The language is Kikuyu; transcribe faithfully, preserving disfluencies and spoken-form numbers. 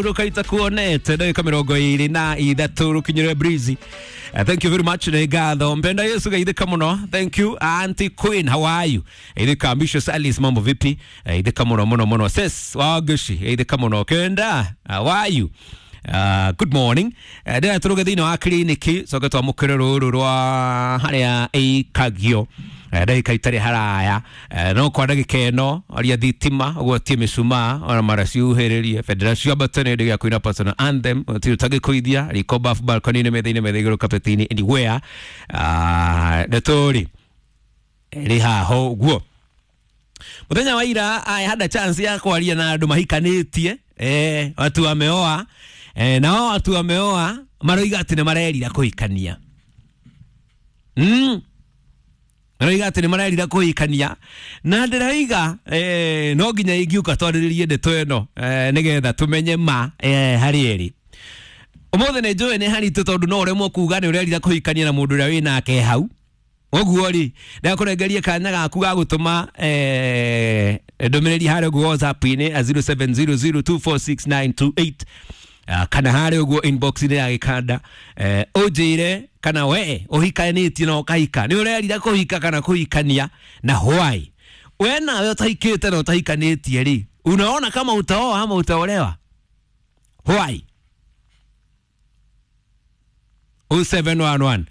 Rukaita kuonete ndagika mirongo iri na ithatu rukinyire breezy. Uh, thank you very much nĩ ngatho mpenda Yesu geithĩka mũno. Thank you, Auntie Queen, how are you? Geithĩka Ambitious Alice, mambo vipi? Geithĩka mũno mũno mũno. Sis Wagushi, geithĩka mũno. Kenda, how are you? Uh, good morning. uh, ndĩra tũrũge thĩinĩ wa kiriniki coke twamũkĩre rũrũ rwa harĩa ĩikagio ndagĩka itarĩ haraya. Eh, no kwa ndagĩka ĩno aria thitima ũgwatie mĩcumaa ona mara ciuhĩrĩrie bendera ciambate nĩ hĩndĩ gĩa kũina personal anthem ũtirĩ ũtangĩkũithia riko bafu balcony-inĩ metha-inĩ metha igũrũ kapeti-inĩ anywhere. Ah, ndeto rĩ ĩrĩ haha ũguo. Muthenya wa ira I had a chance ya kwaria na andũ mahikanĩtie, eh, watu wameoa, eh, nao watu wameoa maroiga atĩ nĩ marerira kũhikania mm. Maroiga atĩ nĩ marerira kũhikania na ndĩroiga eh, no nginya ingiũka twarĩrĩrie ndeto ĩno eh, nĩgetha tũmenye ma eh, harĩ ĩrĩ ũmũthĩ. Nĩ njũĩ nĩ haritũ tondũ no ũremwo kuga nĩ ũrerira kũhikania na mũndũ ũrĩa wĩ nake hau. Ũguo rĩ, ndakũrengerie kanya gaku ga gũtũma eh, ndũmĩrĩri harĩa ũguo WhatsApp-inĩ a zero seven zero zero two four six nine two eight, ah, kana harĩa ũguo inbox-inĩ ya gĩkanda, eh, ũnjĩre kana we ũhikanĩtie na ũkahika nĩ ũrerira kũhika kana kũhikania na why. We nawe ũtahikĩte na ũtahikanĩtie rĩ, unaona kama utaoa ama utaolewa? Why? zero seven one one